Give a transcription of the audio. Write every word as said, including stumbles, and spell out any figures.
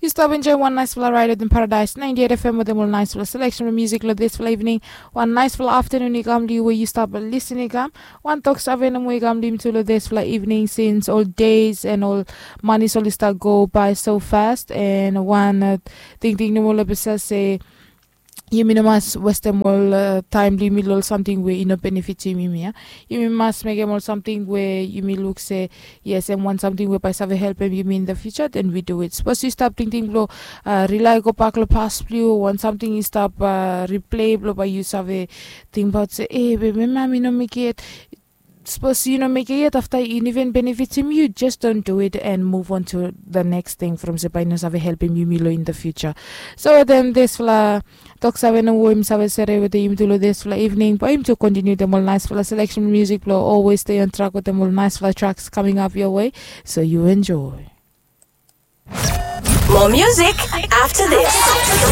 Stap enjoy wan naispela raid wetem Paradise ninety eight F M wetem ol naispela selection musik long dispela evening. Wan naispela afternoon i kam long yu we yu stap listening kam. Wan tok save nomo i kam long yumi tu long dispela evening since all days and all money soli start go by so fast and wan uh, tingting nomo long bisa se yumi no mas westem ol uh, taim blong yumi long ol samting we i no benefitim yumi ya. Yumi mas mekim ol samting we yumi luk se yes em wan samting we bai save helpim yumi in the future, then we do it. Sapos yu stap tingting blong uh, rely go bak long pas blong yu wan samting i stap uh, replay blong bai yu save tingbaut se e be mema mi no mekim yet. Sapos yu no mekim yet afta i no even benefitim yu, just don't do it and move on to the next thing from se bai no save helpim yumi long in the future. So then dispela tok save no wo im save sere wetem yumi tu long dispela evening bai yumi tu kontiniu dem ol naispela selection music blong always stay on track wetem ol naispela tracks coming up your way. So you enjoy. More music after this.